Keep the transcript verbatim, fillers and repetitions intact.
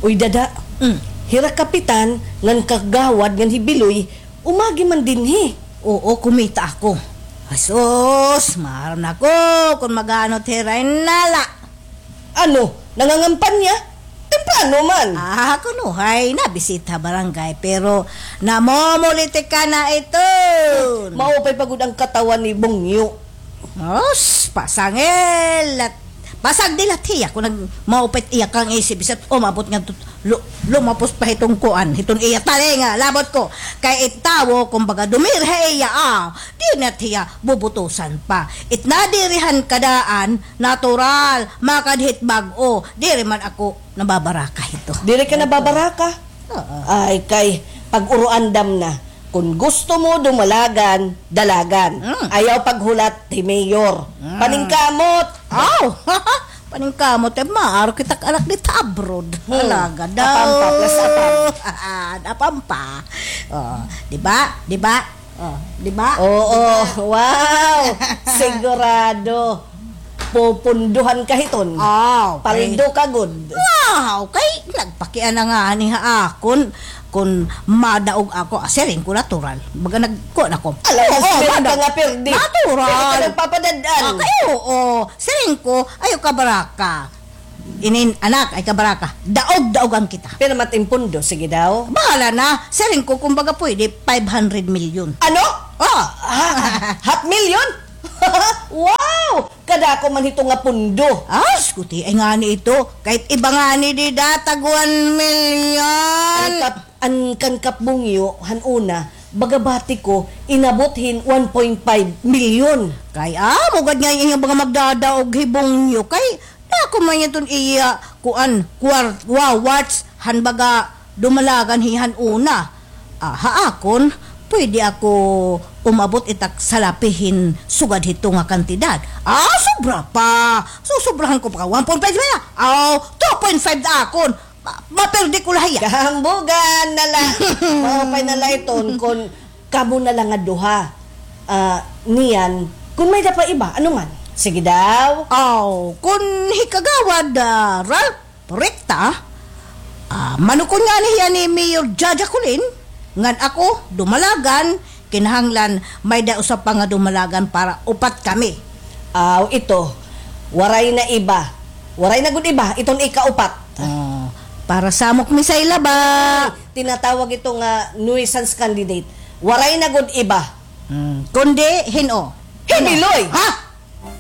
Uy, dada. Mm. Hira kapitan ngan kagawad ngan hi Biloy, umagi man dinhi. Oo, kumita ako. Asus, maaram na ko kon mag-aano it hira hinala. Ano, nangangampanya? Temprano man. Ah, kuno hay nabisita barangay, pero namomolitika na iton. Maupay pa gud an katawan ni Bongyo. Os, pasangil. At pasagdi la hiya kon nagmaupay it iya kang isip, bisan umabot ngadto, lu-, lumapos pa hiton kuan, hiton iya talinga, labot ko. Kay it tawo, kumbaga, dumiri ha iya, ah, diri na hiya bubutusan pa. It nadiri han kadaan, natural, makadhit bag-o. Diri man ako nababaraka hito. Diri ka nababaraka? Oo. Ay, kay pag-uruandam na. Kon gusto mo dumalagan, dalagan. Mm. Ayaw paghulat hi Mayor. Mm. Paningkamot. Aw! Paningkamot, eh, maaram kita anak dida abroad. Hmm. Alaga daw. Apampa, plus apam. Apampa. Oh, di ba? Di ba? Oh, di ba? Oo, wow! Sigurado. Pupunduhan ka hiton. Aw, kay paldo ka gud. Wow, kay nagpakiana ngani ha akon kon madaog ako. Ah, siring ko natural. Baga nagkuan ako. Ala, oo, siring ka natural. Natural. Diri ka nagpapadad-an. Ah, kay oo, siring ko, ayaw kabaraka. Inin, anak, ay kabaraka. Daog-daogan kita. Pero matimpundo, sige daw. Bahala na. Siring ko, kumbaga pwede, five hundred million. Ano? Oh. Ha-, half million? Wow! Kadako man hito nga pundo. Ah, skuti, ay ngani ito. Kahit iba ngani dida, tag one million. An kap-, an kan Kap Bongyo, han una, baga bati ko, inabot hin one point five million. Kay, ah, mugad nga inyong mga magdadaog hi Bongyo. Kay, dako man iton iya, kuan, kwart-, wa-, warts, han baga, dumalagan hi han una. Ah, ha akon, pwede ako umabot itak salapi hin sugad hito nga kantidad. Ah, sobra pa. Susobrahan ko pa ka one point five na. Aw, two point five na akon. Ma-, maperde ko la hiya. Kahambugan na la. Maupay na la iton kon kamo na la nga duha. Ah, niyan, kon may-ada pa iba, ano man? Sige daw. Aw, kon hi Kagawad, ah, Ralph, Rekta, ah, manukon ngani hiya ni Mayor Jaja Colin, ngan ako, dumalagan, kinahanglan may-ada usa pa nga dumalagan para upat kami. Aw, ito, waray na iba. Waray na gud iba, iton ikaupat. Oh, para samok mi sa ila ba? Tinatawag ito nga nuisance candidate. Waray na gud iba. Hmm, kundi, hin-o? Hi Biloy. Ha?